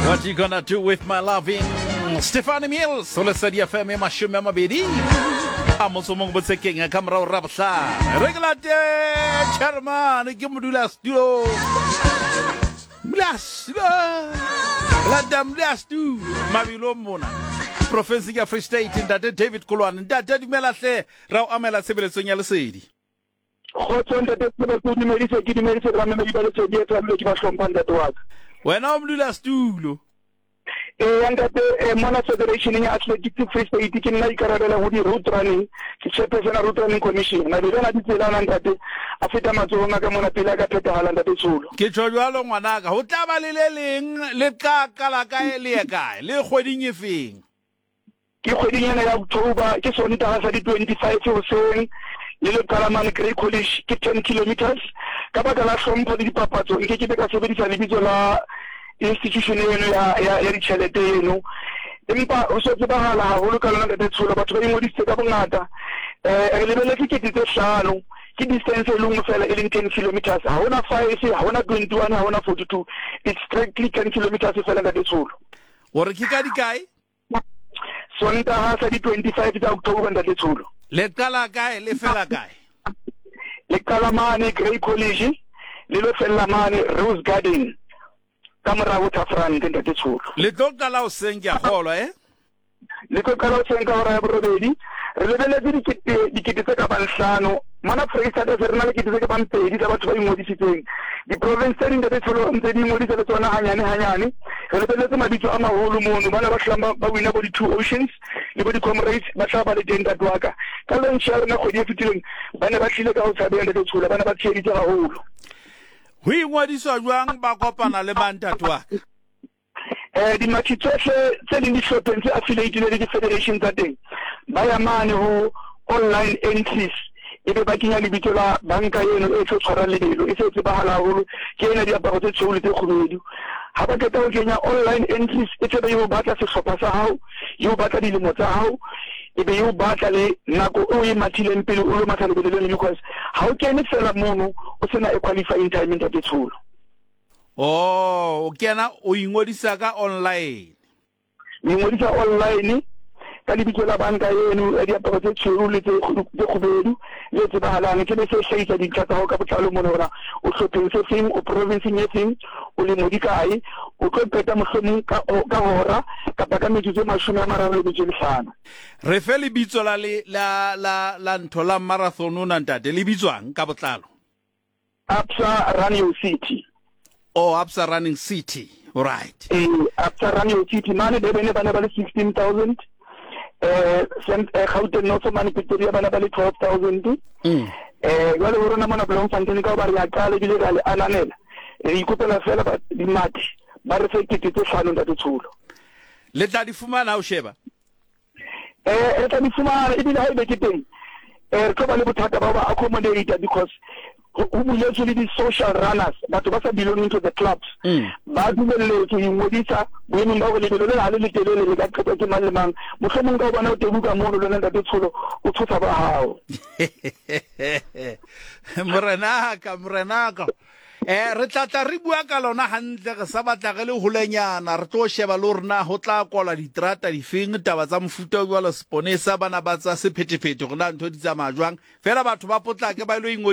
What you gonna do with my loving? Stephanie Mills, ho Lesedi FM e 20 a motso mongwe botsekeng ka morago ra bohlano. Re ke late chairman ke modula studio. Modula studio. Lata modula studio mabilo mona. Profenseng ya Free State ntate David Kolwane. Ntate dumela hle ra o amela tshebeletsong ya Lesedi. Kgotso ntate Sebe, ke o dumedise, ke dumedise le bamamedi ba Lesedi FM le ke ba hlompha ntate wa ka. Wena o modulasetulo. Eya ntate, eh, mona Federationeng ya Athletics Free State ke nna ikarabelang ho di-road running, ke chairperson ya Road Running Commission. Mabelo ana a ditsela ana ntate a feta matsohong a ka mona pele a ka phethahala ntate Tsholo. Ke tjho jwalo ngwanaka, ho tla ba le le leng le tla qala kae le ye kae, le kgweding e feng? Ke kgweding ena ya October, ke Sontaga sa di 25 hoseng, le lo qala mane Grey College, ke 10 kilometres. Ka baka la hlompho le dipapatso, nke ke be ka sebedisa lebitso la institution eno ya, ya, ya ditjhelete eno. Empa ho so tsebahala haholo ka lona Ntate Tsholo, batho ba ingodisitse ka bongata. Eh, re lebeletse 5000, ke distance e le nngwe fela e leng 10 kilometres. Ha hona 5, ha hona 21, ha hona 42. It's strictly 10 kilometres fela Ntate Tsholo. O re ke ka dikae? Sontaha sa di 25 tsa October ntate Tsholo. Le qala kae le fela kae? Le qala mane Grey College le lo fella mane Rose Garden ka mora Waterfront ntate Tsholo. Le tlo qala hoseng ke a kgolwa eh? Le tlo qala hoseng ka hora ya borobedi. Re lebeletse dikete dikete tse ka bang hlano mona Freistata se re na le kete tse ka bang pedi tsa batho ba ingodisitseng. Diprovince tse ding ntate Tsholo ntse di ingodisa le tsona hanyane hanyane. Re lebeletse mabitso a maholo mono, bana ba hlolang ba, ba wina bo di-Two Oceans le bo di-Comrades ba tla ba le teng ntate wa ka. Ka launch ya rona kgwedi e fetileng ba ne ba tlile ka ho tshabeha ntate Tshola, ba ne ba tsheheditse haholo. Ho ingodiswa jwang ba kopana le mang ntate wa ka? Eh, dimathi tsohle tse leng dihlopheng tse affiliatileng le di-federation tsa teng ba ya mane ho online entries e be ba kenya lebitso la banka eno e tlo tshwarang lebelo e se e tsebahala haholo ke ena diaparo tse tshweu le tse kgubedu. Ha ba qeta ho kenya online entries e tla be e o batla sehlopha sa hao, e o batla dilemo tsa hao, e be e o batla le nako e o e mathileng pele o lo matha lebelo leno because ha o kene fela mono o sena a qualifying time ntate Tsholo. Oh, o kena o ingodisa ka online. O ingodisa online ka lebitso la banka eno ya diaparo tse tshweu le tse tse kgubedu le tsebahalang. Ke be se hlahisa dintlha tsa hao ka botlalo mona hore o hlopheng se feng, o provinseng e feng, o lemo di kae, o tlo qeta mohlomong ka ka hora kapa ka metsotso e 35 le metso e mehlano. Re fe lebitso la le la la la ntho la marathon ona ntate, le bitswang ka botlalo? Absa Run Your City. Oh, Absa Running City. Right. Ee, Absa Run Your City. Mane Durban ba ne ba le 16,000. Eh, eh, Gauteng North mane Pretoria ba ne ba le 12,000. Eh, jwale ho rona mona Bloemfontein ka hoba re a qala ebile re a le ananela. Re ikopela fela ba dimathi ba re fe 5000 ntate Tsholo. Le tla di fumana ha o sheba? Eh, re tla di fumana ebile ha ebe ke teng eh, re tlo ba le bothata ba ho ba accommodate because ho buletswe le di-social runners, batho ba sa belonging to the clubs ba dumelletswe ho ingodisa boemong ba hore lebelo le ha le letelele le ka qetwa ke mang le mang. Mohlomong ka o bona o tebuka mono le wena ntate Tsholo o tshosa ba hao. Morenaka, morenaka. Eh, re tla tla re bua ka lona hantle, re sa batla re le holenyana, re tlo sheba le hore na ho tla kwalwa diterata difeng, taba tsa mofuta o jwalo, seponesa, bana ba tsa sephethephethe, hore na ntho di tsamaya jwang. Feela batho ba potlake ba ilo ingodisa.